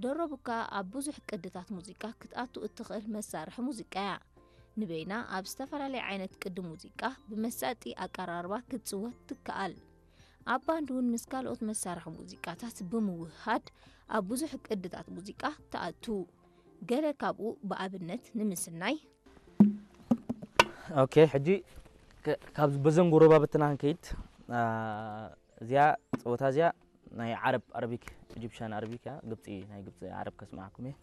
ደረቡካ ኣብ ብዙሕ ቅድታት ሙዚቃ ክትኣቱ እትኽእል መሳርሒ ሙዚቃ እያ። ንበይና ኣብ ዝተፈላለየ ዓይነት ቅዲ ሙዚቃ ብመሳጢ ኣቀራርባ ክትጽወት ትከኣል። ኣብ ባንድ እውን ምስ ካልኦት መሳርሒ ሙዚቃታት ብምውህሃድ ኣብ ብዙሕ ቅድታት ሙዚቃ ትኣቱ። ገለ ካብኡ ብኣብነት ንምስናይ። ኦኬ፣ ሕጂ ከ- ካብ በዘን ጎረባብትና ክንከይድ። እዚኣ ፀወታ እዚኣ ናይ ዓረብ ኣረቢክ፣ ኢጂፕሽያን ኣረቢክ እያ። ግብፂ፣ ናይ ግብፂ ዓረብ ከስማዕኩም እየ።